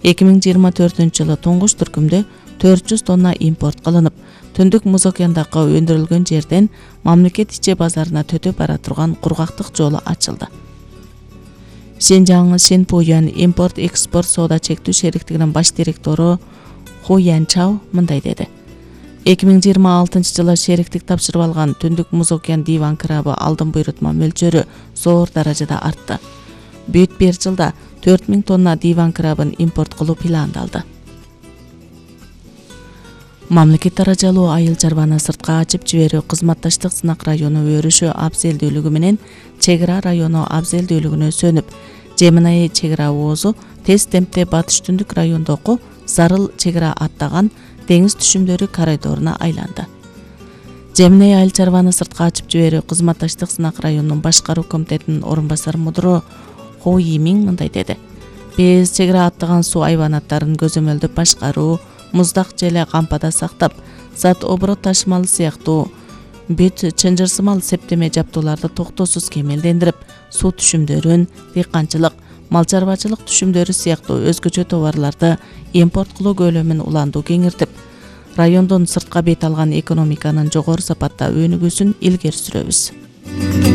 2024-жылы туңгуч түркүмдө 400 тонна импорт кылынып, Түндүк Муз океандагы өндүрүлгөн жерден мамлекет ичи базарына төтөп бара турган кургактык жолу ачылды. Шинжаң Шинпуян импорт-экспорт соода чектүү шериктигинин баш директору Ху Янчао мындай деди. 2026-жылы шериктик тапшырып алган Түндүк Муз океан диван крабы алдын буйрутма мөлчөрү зор даражада артты. Бүт бир жылда 4000 тонна диван крабын импорт кылуу пландалды. Мамлекет даражалуу айыл чарбаны сыртка ачып жиберүү кызматташтык сынак району өрүшү абзелдүүлүгү менен чек ара району абзелдүүлүгүнө сөнүп, Жеминай чек ара оозу тез темпте батыш түндүк райондогу зарыл чек ара аттаган деңиз түшүмдөрү коридоруна айланды. Жеминай айыл чарбаны сыртка ачып жиберүү кызматташтык сынак районунун башкаруу комитетинин орун басар мудуру Хо Йимин мындай деди. Биз чек ара аттаган суу айванаттарын көзөмөлдөп башкаруу, муздак желе кампада сактап, зат оборот ташымалы сыяктуу бүт чынжырсымал септеме жаптууларды токтоосуз кемелдендирип, суу түшүмдөрүн, дыйканчылык, мал чарбачылык түшүмдөрү сыяктуу өзгөчө товарларды импорт кылуу көлөмүн улантуу кеңиртип, райондон сыртка бет алган экономиканын жогору сапатта өнүгүүсүн илгери сүрөбүз.